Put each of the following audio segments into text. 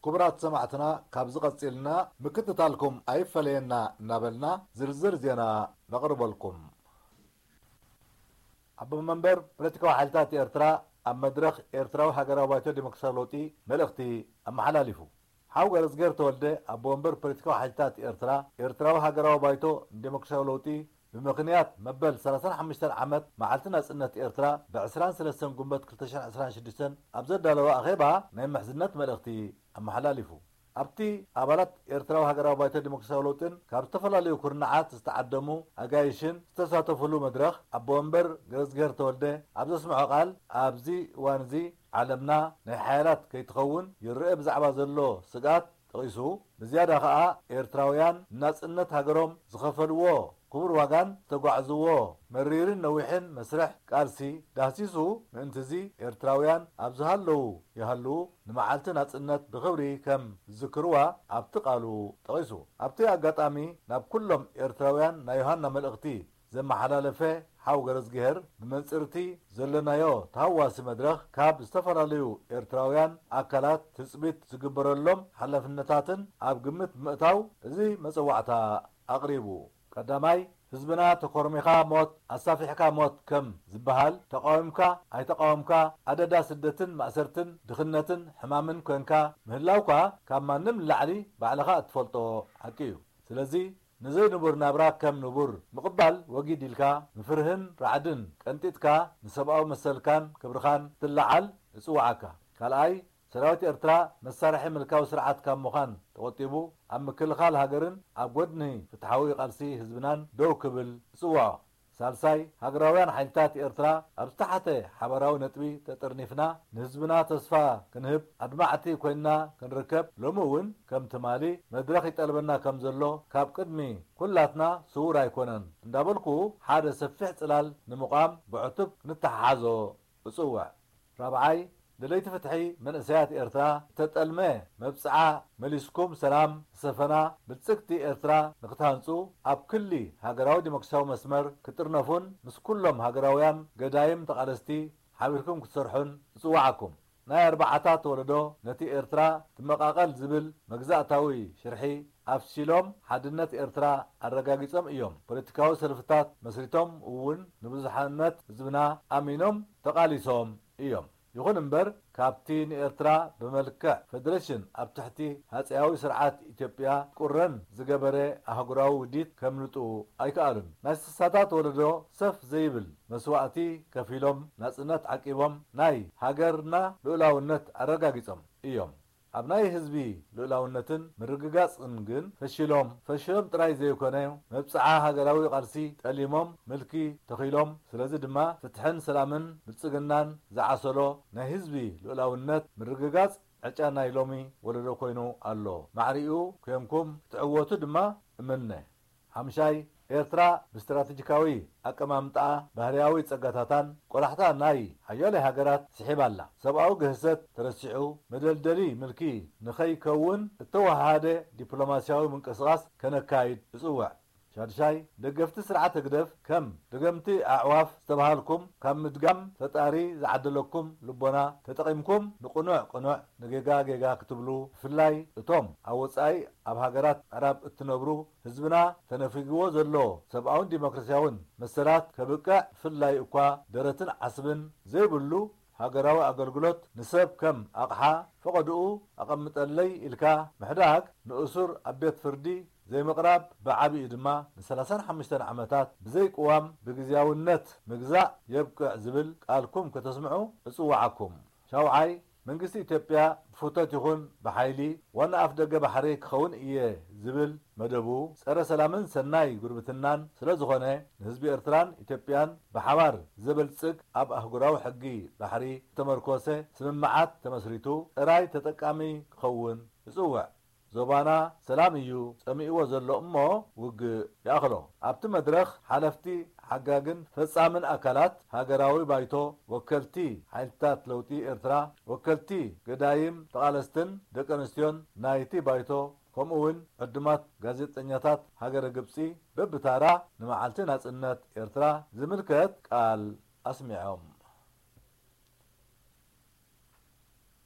ክቡራት ሰማዕትና፣ ካብዚ ቀጺልና ምክትታልኩም ኣይፈለየና እናበልና ዝርዝር ዜና ነቕርበልኩም። ኣቦ መንበር ፖለቲካዊ ሓይልታት ኤርትራ ኣብ መድረኽ ኤርትራዊ ሃገራዊ ባይቶ ዲሞክራሲያዊ ለውጢ መልእኽቲ ኣመሓላሊፉ። ሓው ገረዝጌር ተወልደ፣ ኣቦ መንበር ፖለቲካዊ ሓይልታት ኤርትራ፣ ኤርትራዊ ሃገራዊ ባይቶ ንዲሞክራሲያዊ ለውጢ፣ ብምኽንያት መበል ሰላሳን ሓሙሽተን ዓመት መዓልቲ ናጽነት ኤርትራ፣ ብ ዕስራን ሰለስተን ጉንበት ክልተ ሽሕን ዕስራን ሽዱሽተን ኣብ ዘዳለወ ኣኼባ ናይ ምሕዝነት መልእኽቲ ኣመሓላሊፉ። ኣብቲ ኣባላት ኤርትራዊ ሃገራዊ ባይቶ ዲሞክራሲያዊ ለውጥን ካብ ዝተፈላለዩ ኩርናዓት ዝተዓደሙ ኣጋይሽን ዝተሳተፉሉ መድረኽ፣ ኣቦ ወንበር ገረዝግሄር ተወልደ ኣብ ዘስምዖ ቃል፣ ኣብዚ እዋን እዚ ዓለምና ናይ ሓያላት ከይትኸውን ይረአ ብዛዕባ ዘሎ ስግኣት ጠቒሱ፣ ብዝያዳ ከኣ ኤርትራውያን ንናጽነት ሃገሮም ዝኸፈልዎ ክቡር ዋጋን ዝተጓዕዝዎ መሪርን ነዊሕን መስርሕ ቃልሲ ዳህሲሱ፣ ምእንትዚ ኤርትራውያን ኣብ ዝሃለዉ ይሃልዉ ንመዓልቲ ናጽነት ብኽብሪ ከም ዝዝክርዋ ኣብቲ ቃሉ ጠቒሱ። ኣብቲ ኣጋጣሚ ናብ ኩሎም ኤርትራውያን ናይ ዮሃና መልእኽቲ ዘመሓላለፈ ሓው ገረዝግሄር፣ ብመንጽር'ቲ ዘለናዮ ተሃዋሲ መድረኽ ካብ ዝተፈላለዩ ኤርትራውያን ኣካላት ትጽቢት ዝግበረሎም ሓላፍነታትን ኣብ ግምት ብምእታው እዚ መጸዋዕታ ኣቕሪቡ። ቀዳማይ፣ ህዝብና ተኮርሚኻ ሞት፣ ኣሳፊሕካ ሞት ከም ዝበሃል፣ ተቃዊምካ ኣይተቃወምካ፣ ኣደዳ ስደትን ማእሰርትን ድኽነትን ሕማምን ኮንካ ምህላውካ ካብ ማንም ንላዕሊ ባዕልኻ እትፈልጦ ሓቂ እዩ። ስለዚ፣ ንዘይንቡር ናብራ ከም ንቡር ምቕባል ወጊድ ኢልካ፣ ንፍርህን ራዕድን ቀንጢጥካ፣ ንሰብኣዊ መሰልካን ክብርኻን ክትለዓል እጽውዓካ። ካልኣይ፣ ሰራዊት ኤርትራ መሳርሒ ምልካዊ ስርዓት ካብ ምዃን ተቖጢቡ፣ ኣብ ምክልኻል ሃገርን ኣብ ጎድኒ ፍትሓዊ ቃልሲ ህዝብናን ደው ክብል እጽውዖ። ሳልሳይ፣ ሃገራውያን ሓይልታት ኤርትራ ኣብ ዝተሓተ ሓባራዊ ነጥቢ ተጠርኒፍና፣ ንህዝብና ተስፋ ክንህብ፣ ኣድማዕቲ ኮይንና ክንርከብ፣ ሎሚ እውን ከም ትማሊ መድረኽ ይጠልበና ከም ዘሎ ካብ ቅድሚ ኩላትና ስዉር ኣይኮነን እንዳበልኩ፣ ሓደ ሰፊሕ ጽላል ንምቋም ብዕቱብ ክንተሓሓዞ እጽውዕ። ራብዓይ፣ ደለይቲ ፍትሒ መንእሰያት ኤርትራ፣ እተጠልመ መብጽዓ መሊስኩም፣ ሰላም ዝሰፈና ብልጽግቲ ኤርትራ ንክትሃንጹ፣ ኣብ ክሊ ሃገራዊ ዲሞክራሲያዊ መስመር ክትጥርነፉን ምስ ኩሎም ሃገራውያን ገዳይም ተቓለስቲ ሓቢርኩም ክትሰርሑን እጽውዓኩም። ናይ ኣርባዓታት ወለዶ ነቲ ኤርትራ ትመቓቐል ዝብል መግዛእታዊ ሽርሒ ኣፍሺሎም፣ ሓድነት ኤርትራ ኣረጋጊጾም እዮም። ፖለቲካዊ ሰልፍታት መስሪቶም እውን ንብዙሓነት ህዝብና ኣሚኖም ተቓሊሶም እዮም። ይኹን እምበር፣ ካብቲ ንኤርትራ ብመልክዕ ፈደረሽን ኣብ ትሕቲ ሃጸያዊ ስርዓት ኢትዮጵያ ቁረን ዝገበረ ኣህጉራዊ ውዲት ከምልጡ ኣይከኣሉን። ናይ ስሳታት ወለዶ ሰፍ ዘይብል መስዋእቲ ከፊሎም ናጽነት ዓቂቦም ናይ ሃገርና ልኡላውነት ኣረጋጊጾም እዮም። ኣብ ናይ ህዝቢ ልኡላውነትን ምርግጋጽን ግን ፈሺሎም። ፈሺሎም ጥራይ ዘይኮነ፣ መብጽዓ ሃገራዊ ቃልሲ ጠሊሞም ምልኪ ተኺሎም። ስለዚ ድማ ፍትሕን ሰላምን ብልጽግናን ዝዓሰሎ ናይ ህዝቢ ልኡላውነት ምርግጋጽ ዕጫ ናይ ሎሚ ወለዶ ኮይኑ ኣሎ። ማዕሪኡ ኮንኩም ክትዕወቱ ድማ እምነ። ሓምሻይ፣ ኤርትራ ብስትራተጂካዊ ኣቀማምጣኣ፣ ባህርያዊ ጸጋታታን ቆላሕታ ናይ ሓያለ ሃገራት ስሒባ ኣላ። ሰብኣዊ ግህሰት ተረሲዑ፣ መደልደሊ ምልኪ ንኸይከውን እተወሃሃደ ዲፕሎማስያዊ ምንቅስቓስ ከነካይድ እጽውዕ። ሻድሻይ፣ ደገፍቲ ስርዓት ህግደፍ ከም ደገምቲ ኣዕዋፍ ዝተባሃልኩም፣ ካብ ምድጋም ፈጣሪ ዝዓደለኩም ልቦና ተጠቒምኩም፣ ንቕኑዕ ቅኑዕ፣ ንጌጋ ጌጋ ክትብሉ፣ ብፍላይ እቶም ኣብ ወጻኢ ኣብ ሃገራት ምዕራብ እትነብሩ፣ ህዝብና ተነፊግዎ ዘሎ ሰብኣውን ዲሞክራስያውን መሰላት ከብቅዕ፣ ብፍላይ እኳ ደረትን ዓስብን ዘይብሉ ሃገራዊ ኣገልግሎት ንሰብ ከም ኣቕሓ ፈቐድኡ ኣቐምጠለይ ኢልካ ምሕዳግ፣ ንእሱር ኣብ ቤት ፍርዲ ዘይምቕራብ፣ ብዓቢኡ ድማ ንሰላሳን ሓሙሽተን ዓመታት ብዘይ ቅዋም ብግዝያውነት ምግዛእ የብቅዕ ዝብል ቃልኩም ከተስምዑ እጽውዓኩም። ሻውዓይ፣ መንግስቲ ኢትዮጵያ ብፍቶት ይኹን ብሓይሊ ዋና ኣፍ ደገ ባሕሪ ክኸውን እየ ዝብል መደቡ፣ ጸረ ሰላምን ሰናይ ጉርብትናን ስለ ዝኾነ፣ ንህዝቢ ኤርትራን ኢትዮጵያን ብሓባር ዘበልጽግ፣ ኣብ ኣህጉራዊ ሕጊ ባሕሪ ዝተመርኮሰ ስምምዓት ተመስሪቱ ጥራይ ተጠቃሚ ክኸውን እጽውዕ። ዞባና ሰላም እዩ ጸሚእዎ ዘሎ እሞ ውግእ ይኣኽሎ። ኣብቲ መድረኽ ሓለፍቲ ሓጋግን ፈጻምን ኣካላት ሃገራዊ ባይቶ፣ ወከልቲ ሓይልታት ለውጢ ኤርትራ፣ ወከልቲ ገዳይም ተቓለስትን ደቂ ኣንስትዮን ናይቲ ባይቶ፣ ከምኡ እውን ዕዱማት ጋዜጠኛታት ሃገረ ግብጺ በብታራ ንመዓልቲ ናጽነት ኤርትራ ዝምልከት ቃል ኣስሚዖም።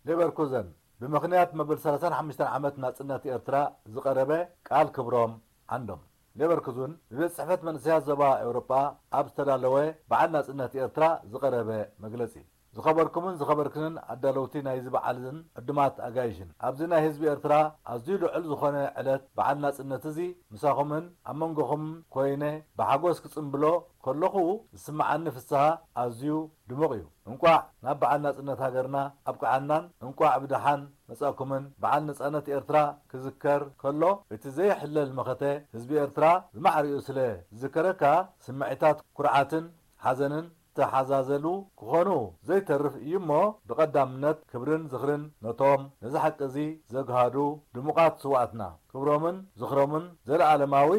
ሌቨርኩዘን፣ ብምኽንያት መበል ሰላሳን ሓሙሽተን ዓመት ናጽነት ኤርትራ ዝቐረበ ቃል ክብሮም ዓንዶም። ሌቨርኩዝን ብቤት ጽሕፈት መንእሰያት ዞባ ኤውሮጳ ኣብ ዝተዳለወ በዓል ናጽነት ኤርትራ ዝቐረበ መግለጺ። ዝኸበርኩምን ዝኸበርክንን ኣዳለውቲ ናይዚ በዓልን ዕዱማት ኣጋይሽን፣ ኣብዚ ናይ ህዝቢ ኤርትራ ኣዝዩ ልዑል ዝኾነ ዕለት በዓል ናጽነት እዚ ምሳኹምን ኣብ መንጎኹም ኮይነ ብሓጎስ ክጽንብሎ ከለኹ ዝስምዓኒ ፍስሃ ኣዝዩ ድሙቕ እዩ። እንቋዕ ናብ በዓል ናጽነት ሃገርና ኣብቅዓናን እንቋዕ ብደሓን መጻእኩምን። በዓል ነጻነት ኤርትራ ክዝከር ከሎ እቲ ዘይሕለል መኸተ ህዝቢ ኤርትራ ዝማዕሪኡ ስለ ዝዝከረካ ስምዒታት ኩርዓትን ሓዘንን ዝተሓዛዘሉ ክኾኑ ዘይተርፍ እዩ እሞ፣ ብቐዳምነት ክብርን ዝኽርን ነቶም ነዚ ሓቂ እዚ ዘግሃዱ ድሙቓት ስውኣትና። ክብሮምን ዝኽሮምን ዘለኣለማዊ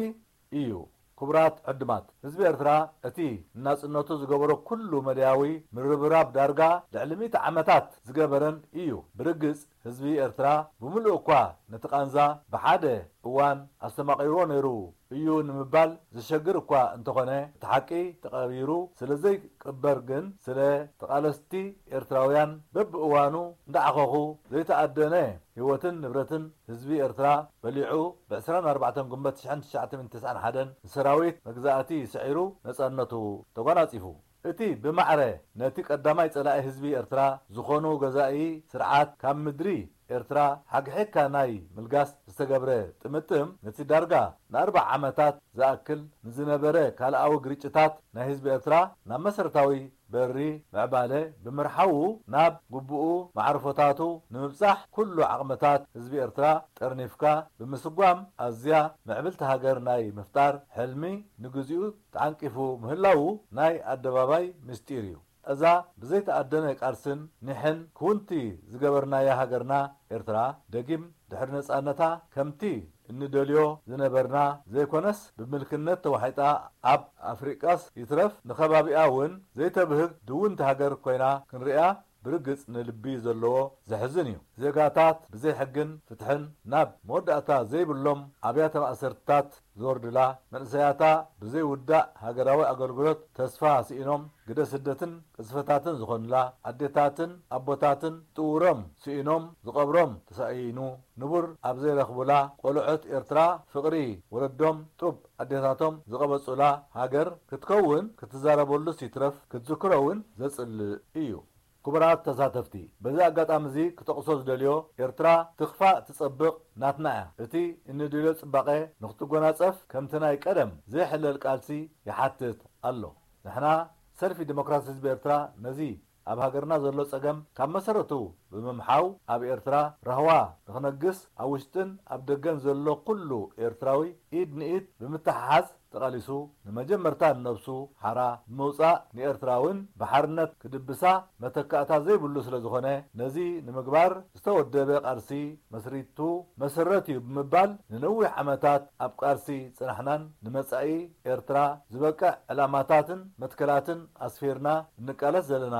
እዩ። ክቡራት ዕዱማት፣ ህዝቢ ኤርትራ እቲ ንናጽነቱ ዝገበሮ ኩሉ መዳያዊ ምርብራብ ዳርጋ ልዕሊ ሚእቲ ዓመታት ዝገበረን እዩ። ብርግጽ ህዝቢ ኤርትራ ብምሉእ እኳ ነቲ ቃንዛ ብሓደ እዋን ኣስተማቒርዎ ነይሩ እዩ ንምባል ዘሸግር እኳ እንተኾነ፣ እቲ ሓቂ ተቐቢሩ ስለ ዘይቅበር ግን፣ ስለ ተቓለስቲ ኤርትራውያን በብእዋኑ እንዳዓኸኹ ዘይተኣደነ ህይወትን ንብረትን ህዝቢ ኤርትራ በሊዑ፣ ብ ዕስራን ኣርባዕተን ጉንበት ሽሕን ትሽዓተ ሚእትን ተስዓን ሓደን ንሰራዊት መግዛእቲ ስዒሩ ነጻነቱ ተጓናጺፉ። እቲ ብማዕረ ነቲ ቀዳማይ ጸላኢ ህዝቢ ኤርትራ ዝኾኑ ገዛኢ ስርዓት ካብ ምድሪ ኤርትራ ሓግሒግካ ናይ ምልጋስ ዝተገብረ ጥምጥም፣ ነቲ ዳርጋ ንኣርብዓ ዓመታት ዝኣክል ንዝነበረ ካልኣዊ ግርጭታት ናይ ህዝቢ ኤርትራ ናብ መሰረታዊ በሪ ምዕባለ ብምርሓዉ፣ ናብ ግቡኡ መዕርፎታቱ ንምብጻሕ ኩሉ ዓቕምታት ህዝቢ ኤርትራ ጠርኒፍካ ብምስጓም፣ ኣዝያ ምዕብልቲ ሃገር ናይ ምፍጣር ሕልሚ ንግዚኡ ተዓንቂፉ ምህላዉ ናይ ኣደባባይ ምስጢር እዩ። እዛ ብዘይተኣደነ ቃልስን ኒሕን ክውንቲ ዝገበርናያ ሃገርና ኤርትራ፣ ደጊም ድሕሪ ነጻነታ ከምቲ እንደልዮ ዝነበርና ዘይኮነስ፣ ብምልክነት ተዋሒጣ ኣብ ኣፍሪቃስ ይትረፍ ንከባቢኣ እውን ዘይተብህግ ድውንቲ ሃገር ኮይና ክንሪኣ ብርግጽ ንልቢ ዘለዎ ዘሕዝን እዩ። ዜጋታት ብዘይ ሕግን ፍትሕን ናብ መወዳእታ ዘይብሎም ኣብያተ ማእሰርትታት ዝወርዱላ፣ መንእሰያታ ብዘይ ውዳእ ሃገራዊ ኣገልግሎት ተስፋ ስኢኖም ግደ ስደትን ቅዝፈታትን ዝኾኑላ፣ ኣዴታትን ኣቦታትን ጥውሮም ስኢኖም ዝቐብሮም ተሳኢኑ ንቡር ኣብ ዘይረኽቡላ፣ ቆልዑት ኤርትራ ፍቕሪ ወለዶም ጡብ ኣዴታቶም ዝቐበጹላ ሃገር ክትከውን ክትዛረበሉስ ይትረፍ ክትዝክሮ እውን ዘጽልእ እዩ። ክቡራት ተሳተፍቲ፣ በዚ ኣጋጣሚ እዚ ክጠቕሶ ዝደልዮ፣ ኤርትራ ትኽፋእ ትጸብቕ ናትና እያ። እቲ እንደልዮ ጽባቐ ንኽትጎናጸፍ ከምቲ ናይ ቀደም ዘይሕለል ቃልሲ ይሓትት ኣሎ። ንሕና ሰልፊ ዲሞክራሲ ህዝቢ ኤርትራ ነዚ ኣብ ሃገርና ዘሎ ጸገም ካብ መሰረቱ ብምምሓው፣ ኣብ ኤርትራ ራህዋ ንኽነግስ፣ ኣብ ውሽጥን ኣብ ደገን ዘሎ ኩሉ ኤርትራዊ ኢድ ንኢድ ብምትሕሓዝ ተቓሊሱ፣ ንመጀመርታ ንነብሱ ሓራ ብምውጻእ፣ ንኤርትራ እውን ብሓርነት ክድብሳ መተካእታ ዘይብሉ ስለ ዝኾነ፣ ነዚ ንምግባር ዝተወደበ ቃልሲ መስሪቱ መሰረት እዩ ብምባል፣ ንነዊሕ ዓመታት ኣብ ቃልሲ ጸናሕናን ንመጻኢ ኤርትራ ዝበቅዕ ዕላማታትን መትከላትን ኣስፊርና እንቃለስ ዘለና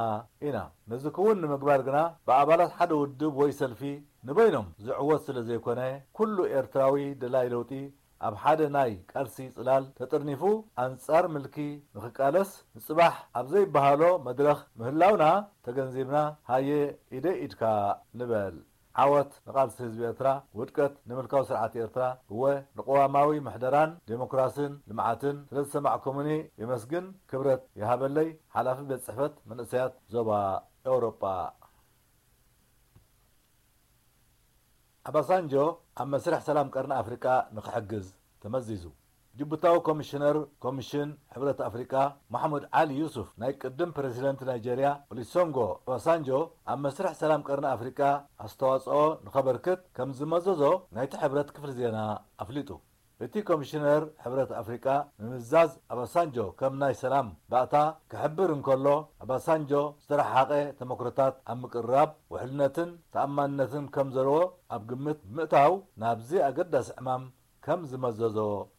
ኢና። ነዚ ክውን ንምግባር ግና ብኣባላት ሓደ ውድብ ወይ ሰልፊ ንበይኖም ዝዕወት ስለ ዘይኮነ፣ ኩሉ ኤርትራዊ ደላይ ለውጢ ኣብ ሓደ ናይ ቃልሲ ጽላል ተጠርኒፉ ኣንጻር ምልኪ ንኽቃለስ፣ ንጽባሕ ኣብ ዘይበሃሎ መድረኽ ምህላውና ተገንዚብና፣ ሃየ ኢደይ ኢድካ ንበል። ዓወት ንቓልሲ ህዝቢ ኤርትራ፣ ውድቀት ንምልካዊ ስርዓት ኤርትራ፣ እወ ንቅዋማዊ ምሕደራን ዴሞክራስን ልምዓትን። ስለ ዝሰማዕኩምኒ የመስግን፣ ክብረት ይሃበለይ። ሓላፊ ቤት ጽሕፈት መንእሰያት ዞባ ኤውሮጳ። ኣባሳንጆ ኣብ መስርሕ ሰላም ቀርኒ ኣፍሪቃ ንኽሕግዝ ተመዚዙ። ጅቡታዊ ኮሚሽነር ኮሚሽን ሕብረት ኣፍሪቃ ማሕሙድ ዓሊ ዩሱፍ፣ ናይ ቅድም ፕረዚደንት ናይጀርያ ኦሊሶንጎ ኦባሳንጆ ኣብ መስርሕ ሰላም ቀርኒ ኣፍሪቃ ኣስተዋጽኦ ንኸበርክት ከም ዝመዘዞ ናይቲ ሕብረት ክፍሊ ዜና ኣፍሊጡ። እቲ ኮሚሽነር ሕብረት ኣፍሪቃ ምምዛዝ ኣባሳንጆ ከም ናይ ሰላም ባእታ ክሕብር እንከሎ፣ ኣባሳንጆ ዝተረሓሓቐ ተመክሮታት ኣብ ምቅርራብ ውሕልነትን ተኣማንነትን ከም ዘለዎ ኣብ ግምት ብምእታው፣ ናብዚ ኣገዳሲ ዕማም ከም ዝመዘዞ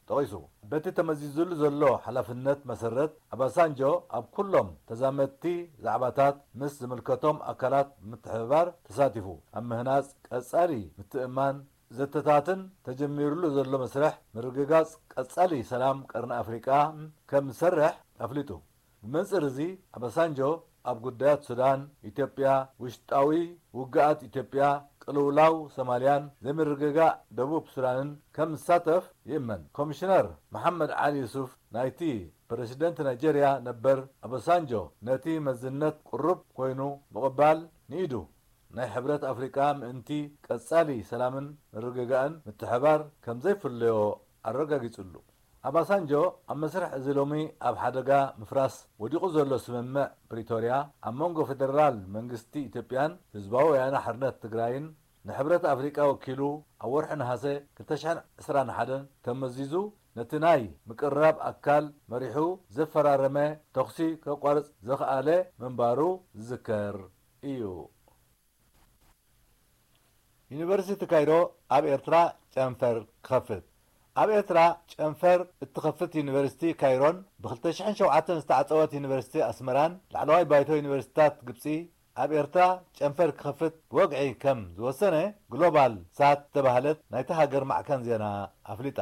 ጠቒሱ። በቲ ተመዚዙሉ ዘሎ ሓላፍነት መሰረት፣ ኣባሳንጆ ኣብ ኩሎም ተዛመድቲ ዛዕባታት ምስ ዝምልከቶም ኣካላት ብምትሕብባር ተሳቲፉ፣ ኣብ ምህናጽ ቀጻሊ ምትእምማን ዘተታትን ተጀሚሩሉ ዘሎ መስርሕ ምርግጋጽ ቀጻሊ ሰላም ቀርኒ ኣፍሪቃ ከም ዝሰርሕ ኣፍሊጡ። ብመንጽር እዚ፣ ኣባሳንጆ ኣብ ጉዳያት ሱዳን፣ ኢትዮጵያ፣ ውሽጣዊ ውግኣት ኢትዮጵያ፣ ቅልውላው ሶማልያን ዘይምርግጋእ ደቡብ ሱዳንን ከም ዝሳተፍ ይእመን። ኮሚሽነር መሓመድ ዓሊ ዩሱፍ ናይቲ ፕረሲደንት ናይጀርያ ነበር ኣባሳንጆ ነቲ መዝነት ቅሩብ ኮይኑ ምቕባል ንኢዱ ናይ ሕብረት ኣፍሪቃ ምእንቲ ቀጻሊ ሰላምን ምርግጋእን ምትሕባር ከም ዘይፍለዮ ኣረጋጊጹሉ። ኣባሳንጆ ኣብ መስርሕ እዚ ሎሚ ኣብ ሓደጋ ምፍራስ ወዲቑ ዘሎ ስምምዕ ፕሪቶርያ ኣብ መንጎ ፌደራል መንግስቲ ኢትዮጵያን ህዝባዊ ወያነ ሓርነት ትግራይን ንሕብረት ኣፍሪቃ ወኪሉ ኣብ ወርሒ ነሃሰ ክልተ ሽሕን ዕስራን ሓደን ተመዚዙ ነቲ ናይ ምቅርራብ ኣካል መሪሑ ዘፈራረመ ተኹሲ ከቋርጽ ዘኽኣለ ምንባሩ ዝዝከር እዩ። ዩኒቨርሲቲ ካይሮ ኣብ ኤርትራ ጨንፈር ክኸፍት። ኣብ ኤርትራ ጨንፈር እትኸፍት ዩኒቨርሲቲ ካይሮን ብ ክልተ ሽሕን ሸውዓተን ዝተዓጸወት ዩኒቨርሲቲ ኣስመራን ላዕለዋይ ባይቶ ዩኒቨርሲታት ግብጺ ኣብ ኤርትራ ጨንፈር ክኸፍት ብወግዒ ከም ዝወሰነ ግሎባል ሳት ዝተባህለት ናይታ ሃገር ማዕከን ዜና ኣፍሊጣ።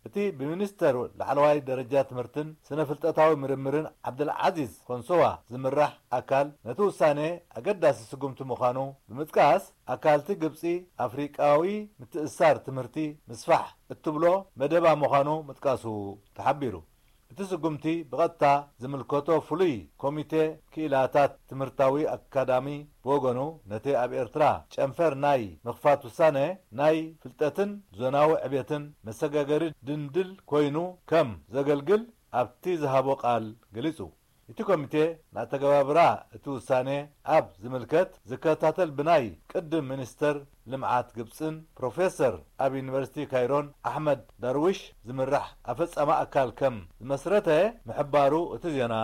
እቲ ብሚኒስተር ላዕለዋይ ደረጃ ትምህርትን ስነ ፍልጠታዊ ምርምርን ዓብደልዓዚዝ ኮንሶዋ ዝምራሕ ኣካል ነቲ ውሳኔ ኣገዳሲ ስጉምቲ ምዃኑ ብምጥቃስ ኣካልቲ ግብጺ ኣፍሪቃዊ ምትእሳር ትምህርቲ ምስፋሕ እትብሎ መደባ ምዃኑ ምጥቃሱ ተሓቢሩ። እቲ ስጉምቲ ብቐጥታ ዝምልከቶ ፍሉይ ኮሚቴ ክኢላታት ትምህርታዊ ኣካዳሚ ብወገኑ ነቲ ኣብ ኤርትራ ጨንፈር ናይ ምኽፋት ውሳነ ናይ ፍልጠትን ዞናዊ ዕቤትን መሰጋገሪ ድንድል ኮይኑ ከም ዘገልግል ኣብቲ ዝሃቦ ቃል ገሊጹ። እቲ ኮሚቴ ንኣተገባብራ እቲ ውሳኔ ኣብ ዝምልከት ዝከታተል ብናይ ቅድም ሚኒስተር ልምዓት ግብጽን ፕሮፌሰር ኣብ ዩኒቨርሲቲ ካይሮን ኣሕመድ ዳርዊሽ ዝምራሕ ኣፈጻሚ ኣካል ከም ዝመስረተ ምሕባሩ እቲ ዜና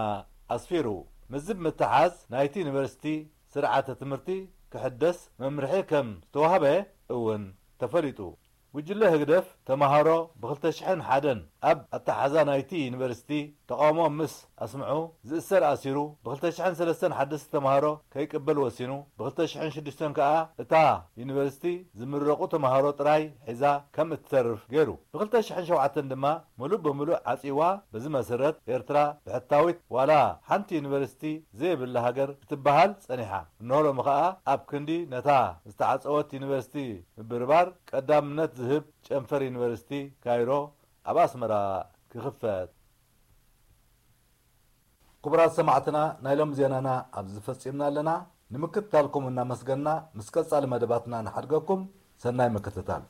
ኣስፊሩ። ምስዚ ብምትሓዝ ናይቲ ዩኒቨርሲቲ ስርዓተ ትምህርቲ ክሕደስ መምርሒ ከም ዝተዋህበ እውን ተፈሊጡ። ጉጅለ ህግደፍ ተማሃሮ ብ ክልተ ሽሕን ሓደን ኣብ ኣተሓዛ ናይቲ ዩኒቨርሲቲ ተቓውሞ ምስ ኣስምዑ ዝእሰር ኣሲሩ፣ ብ ክልተ ሽሕን ሰለስተን ሓደስቲ ተማሃሮ ከይቅበል ወሲኑ፣ ብ ክልተ ሽሕን ሽዱሽተን ከኣ እታ ዩኒቨርሲቲ ዝምረቑ ተማሃሮ ጥራይ ሒዛ ከም እትተርፍ ገይሩ። ብ ክልተ ሽሕን ሸውዓተን ድማ ምሉእ ብምሉእ ዓጺዋ። በዚ መሰረት ኤርትራ ብሕታዊት ዋላ ሓንቲ ዩኒቨርሲቲ ዘይብላ ሃገር ክትበሃል ጸኒሓ። እንሆ ሎሚ ከኣ ኣብ ክንዲ ነታ ዝተዓጸወት ዩኒቨርሲቲ ምብርባር ቀዳምነት ዝህብ ጨንፈር ዩኒቨርሲቲ ካይሮ ኣብ ኣስመራ ክኽፈት። ክቡራት ሰማዕትና፣ ናይ ሎም ዜናና ኣብዚ ፈጺምና ኣለና። ንምክትታልኩም እናመስገና፣ ምስ ቀጻሊ መደባትና ንሓድገኩም። ሰናይ ምክትታል።